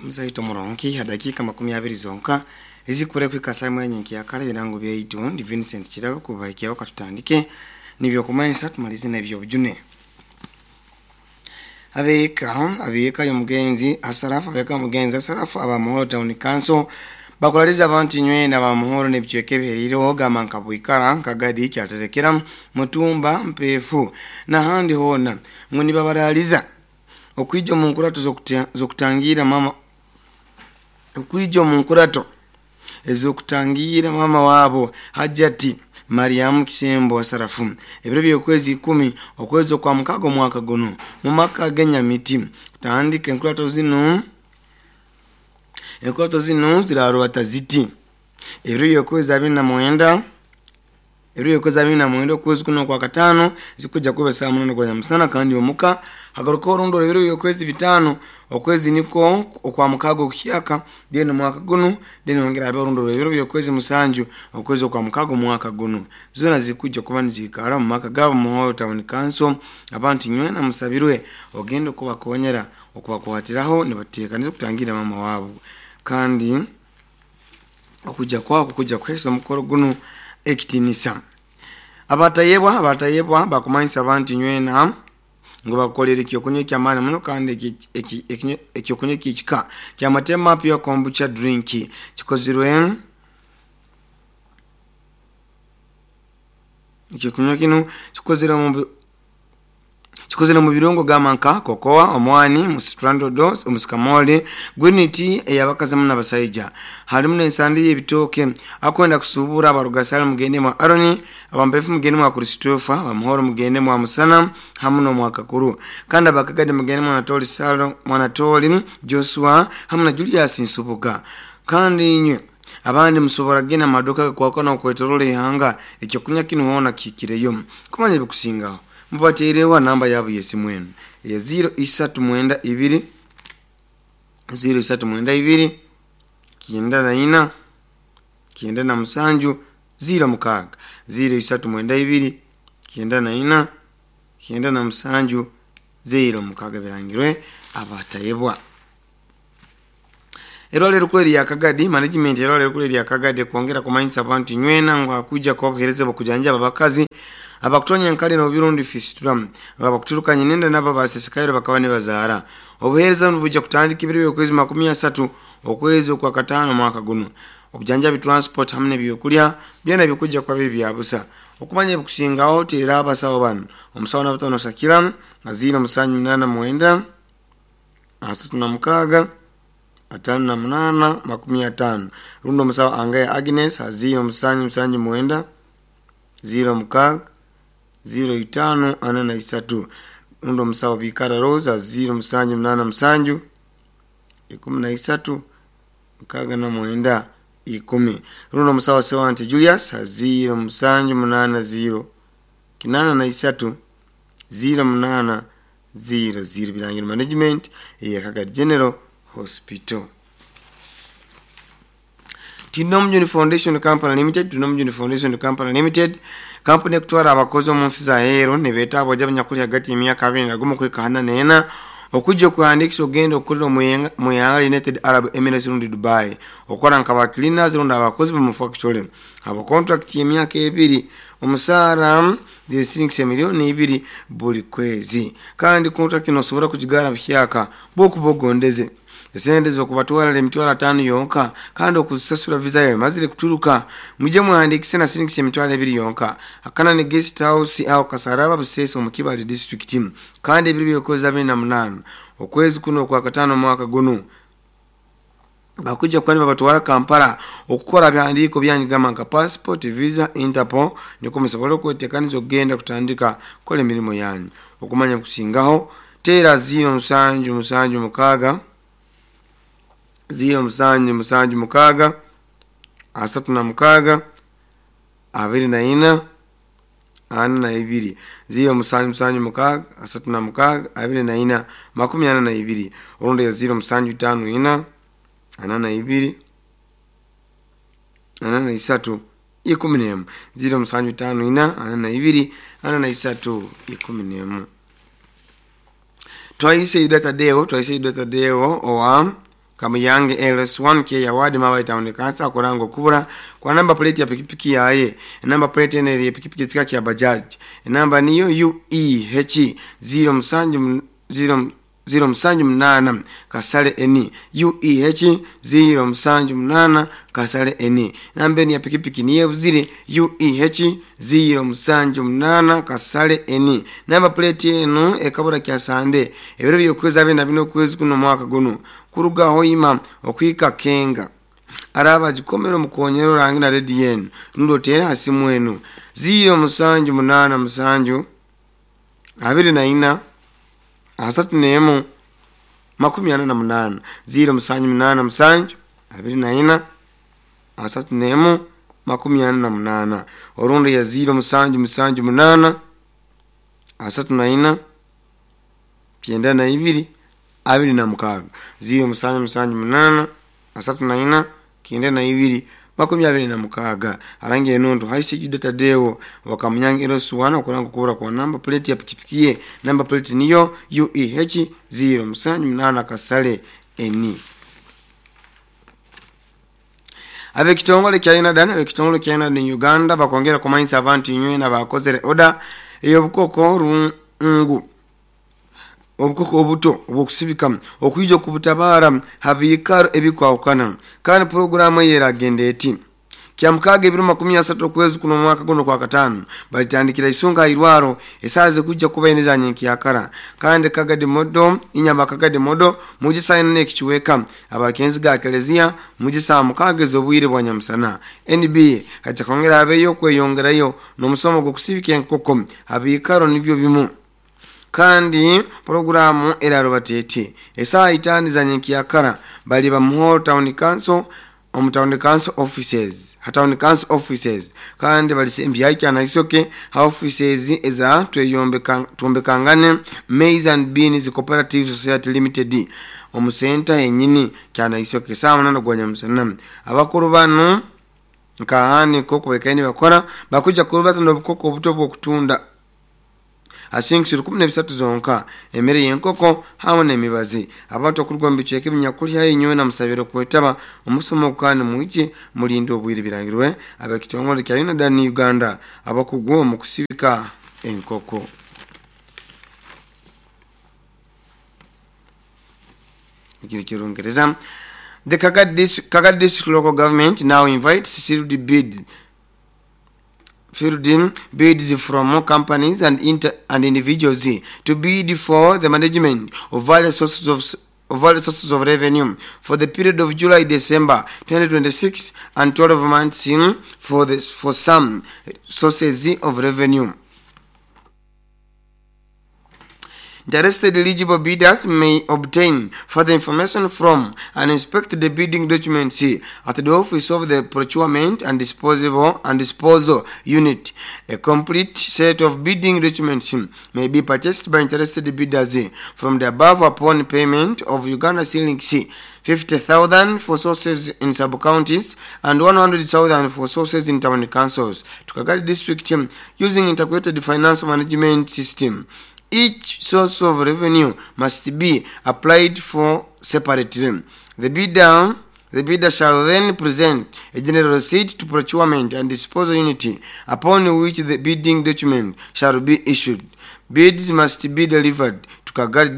Omuzaito murungi ha dakiika 20 zonka ezikure kuhika saa emwe nyenkya-kare ebirango byaitu ndi Vincent Kirabo kubahikyaho katutandike n'ebyokumanyisa tumalize n'ebyobujune. Abeeka abeeka y'omugenzi Asarafu abeeka y'omugenzi Asarafu aba Muhoro Town Council bakuraliza abantu inywena aba Muhoro n'ebicweka ebihereireho gamba nka Bwikara, Kagadi, Kyaterekera, Mutumba, Mpeefu n'ahandi hoona ngu nibabaraliza okwija omu nkurato z'okutangiira mama okwija omu nkurato ez'okutangiira mama waabo Hajjati Mariam Kisembo Asarafu ebiro by'okwezi 10 okwezi okwa mukaaga omwaka gunu mu maka g'enyamiti kutandika enkurato zinu enkurato zinu zirarubata ziti ebiro by'okwezi 29 ebiro by'okwezi 29 okwezi kuno okwa kataano zikujja kuba saa 8 gwa nyamusana kandi omuka hagaruka orundi ebiro by'okwezi 5 okwezi niko okwa mukaaga okuhyaka then omwaka gunu then hongera habe orundi ebiro by'okwezi 7 okwezi okwa mukaaga omwaka gunu zoona zikujja kuba niziikara omu maka gaabo Muhoro Town Council abantu inywena musabirwe ogenda okubakonyera okubakwatiraho nibateekaniza okutangira mama waabo kandi okujja kwako kujja kuheesa omukoro gunu ekitiinisa. Abatayebwa abatayebwa bakumanyisa abantu inywena ngu bakukolera ekyokunywa ekyamaani muno kandi ekyokunywa ekyekika kya Matema Pure Kombucha Drink kikozirwe ekyokunywa kinu kikozirwe mu kikozire mu birungo gamba nka kokoa, omwani, musitrandodo, omusikamoli, green tea ey'abakazi hamu n'abasaija. Harimu n'ensandi y'ebitooke. Akwenda kusuubura abarugasale mugende mwa Aroni, abampefu mugende mwa Christopher, abamuhoro mugende mwa Musana hamu n'omwa Kakuru. Kandi abakagadi mugende mwa Anatoli Salo, mwa Anatoli Joshua hamu na Julius Nsubuga. Kandi inywe abandi musobora kugenda mu maduuka agakwakana okwetorola ihanga ekyokunywa kinu hoona kihikireyo. Kumanya ebikusingaho mubateereho namba yaabo y'esimu enu eya 0392 0392 94 97 06 0392 94 97 06 birangirwe abatayebwa. Erwala erikuru erya Kagadi management erwala erikuru erya Kagadi kwongera kumanyisa abantu inywena ngu hakwija kuba obuheereza bw'okujanjaba abakazi abakutonya enkari n'obubi fistula abakuturuka nyinenda nabo abasesekaire bakaba nibazaara. Obuheereza nibwija kutandika ebiro by'okwezi 30 okwezi okwa kataano omwaka gunu. Obujanjabi transport hamu n'ebyokulya byona bikujja kuba biri bya busa. Okumanya ebikusingaho teerera abasawo banu omusawo Nabatono Sakira 0789 36 58 50 rundi omusawo Angaya Agnes 0779 06 05 43 rundi omusawo Bikara Rose 0787 13 69 10 rundi omusawo Sewante Julius 0780 83 08 00 Birangiro Management eya Kagadi General Hospital. Tinomujuni Foundation Company Limited Tinomujuni Foundation Company Limited kampuni ekutwara abakozi omu nsi za aheeru nibeeta abojo abanyakuli hagati y'emyaka 21 kuhika 44 okujja okuhandiikisa okugenda okukorera omu ihanga United Arab Emirates rundi Dubai okukora nka ba cleaners rundi abakozi b'omu factory haba contract y'emyaka ebiri omusaara ziri miliyoni 2 buli kwezi kandi contract nosobora kugigara buhyaka bwokuba ogondeze. Esente z'okubatwara emitwaro 5 yonka kandi okuzisasura visa yawe emazire kuturuka mwije muhandiikise na siringisi emitwaro 2 yonka. Akana ni guest house aho Kasaraba Busesa omu Kibale district kandi ebiro by'okwezi 28 okwezi kuno okwa kataano omwaka gunu bakujja kuba nibabatwara Kampala okukora bihandiiko byanyu gamba nka passport, visa, Interpol nikwo musobole okwetekaniza okugenda kutandika kukora emirimo yanyu. Okumanya kusingaho teera 0776 0776 36 24 42 0776 36 24 42 orundi 0754 42 43 11 0754 42 43 11. Twaise Yuda Tadeo owa Kamuyange LS1 Kyeya Ward Mabayi Town Council akuranga okubura kwa namba plate ya pikipiki yaye. Enamba plate eno eri pikipiki ekika kya Bajaj. Enamba niyo UEH 07 0 078 kasale N UEH 078 kasale N. Namba eno ya pikipiki niyo ebuzire UEH 078 kasale N. Namba plate eno ekabura kya Sande ebiro by'okwezi 24 okwezi kuno mwaka guno kuruga Hoima okuhika Kenga. Araba agikomera omukonyero orange na rediyo enu rundi oteere aha simu enu 0787 24 31 48 0787 24 31 48 orundi ya 0778 34 92 26 0778 34 92 26. Arangi enondo haisi Juda Tadeo wakamunyange LS1 okuranga okubura kwa namba plate ya pikipiki ye. Namba plate niyo UEH 078 kasale N. Abekitongole kya UNADAN abekitongole kya UNADAN Uganda bakongera kumanyisa abantu inywena bakozere oda ey'obukoko rungu obukoko obuto obwokusibika okwija okubutabara habiikaro ebikwahukana. Kandi puroguramu eyo eragenda eti kya mukaaga ebiro 30 okwezi kuno omwaka guno kwa katano balitandikira isunga irwaro esaaha zikujja kuba ine za nyenkyakara. Kandi kagadi modo inyama kagadi modo mujisa ine ekichweka abakenzi ga kelezia mujisa mukaaga ez'obwire bwa nyamusana. NB haja kongera abeyo kweyongerayo n'omusomo gw'okusibika enkoko habiikaro nibyo bimu. Kandi puroguramu eraruba eti esaaha 5 za nyenkyakara bali bamuhoro town council omu town council offices ha town council offices. Kandi balisembyayo Kyanaisoke ha offices eza twombekangane Maize and Beans Cooperative Society Limited omu center yenyini Kyanaisoke saa 8 gwa nyamusana. Abakuru banu nkahani koko bekaini bakora bakuja kurubata n'obukoko obuto bw'okutunda asingi 13 zonka emere y'enkoko hamwe n'emibazi. Abantu okuruga omu bicweka ebinyakuli haihi nyowe na musabire kwetaba omusomo kandi mwije mulinde obwire birangirwe abekitongole kya UNADAN Uganda abakugu omu kusibika enkoko. Kiri kirungereza. The Kagadi District Local Government now invites sealed bids fielding bids from companies and individuals to bid for the management of various sources of revenue for the period of July December 2026 and 12 months in for some sources of revenue. Interested eligible bidders may obtain further information from and inspect the bidding documents at the office of the Procurement and Disposal Unit. A complete set of bidding documents may be purchased by interested bidders from the above upon payment of Uganda shillings 50,000 for sources in sub-counties and 100,000 for sources in town councils to Kagadi District using integrated financial management system. Each source of revenue must be applied for separately. The bidder shall then present a general receipt to Procurement and Disposal Unit upon which the bidding document shall be issued. Bids must be delivered to Kagadi